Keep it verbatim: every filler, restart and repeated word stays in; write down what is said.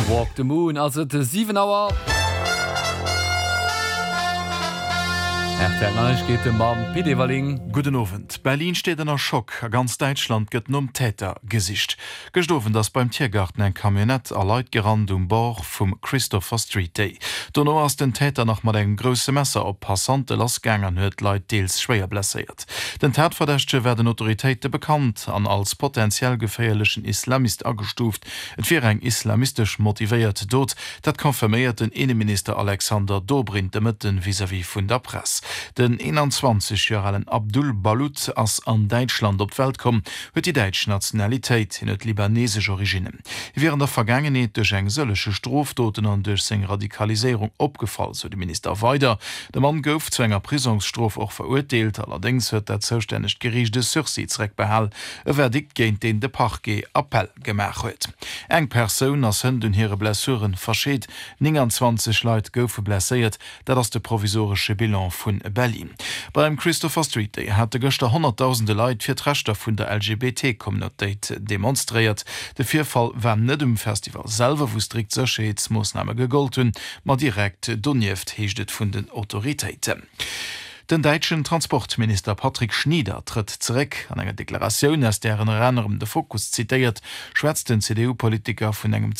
Walk the Moon ass et siwen Auer. R T L Neiegkeete mam Pit Everling. Gudden Owend. Berlin steet ënner Schock. A ganz Däitschland gëtt nom Täter gesicht. Gëscht Owend ass beim Tiergarten eng Camionnette a Leit gerannt um Bord vum Christopher Street Day. Dono ass den Täter nach mat engem grousse Messer op Passante lassgaang an huet Leit deels schwéier blesséiert. Den Tatverdächtege war den Autoritéite bekannt an als potentiell geféierlechen Islamist agestuuft. Et wier eng islamistesch motivéiert Dot, dat confirméiert den Inneminister Alexander Dobrindt de Mëtten vis-à-vis vun der Press. Den eenanzwanzeg Joer alen Abdul Balut ass an Däitschland op d'Welt komm, huet déi däitsch Nationalitéit, hien huet libanesesch Originnen. Hie wier an der Vergaangenheet duerch eng sëllege Strofdoten an duerch seng Radikaliséierung opgefall, sou de Minister weider. De Mann gouf zu enger Prisongsstrof och verurteelt, allerdéngs huet dat zoustännegt Geriicht e Sursis zeréckbehal, e Verdikt géint deen de Parquet Appell gemaach huet. Eng Persoun ass hënt un hire Blessuren verscheet, nénganzwanzeg Leit goufe blesséiert, dat ass de provisoresche Bilan vu Berlin. Beim Christopher Street Day hate gëschter honnertdausende Leit fir d'Rechter vun der L G B T-Communautéit demonstréiert. De Virfall war net um Festival selwer, wou strikt Sécherheetsmoossname gegollt hunn, ma direkt donieft, heescht et vun den Autoritéiten. Den däitschen Transportminister Patrick Schnieder trëtt zeréck. An enger Deklaratioun, aus där ënner anerem de Fokus zitéiert, schwätzt den C D U-Politiker vun engem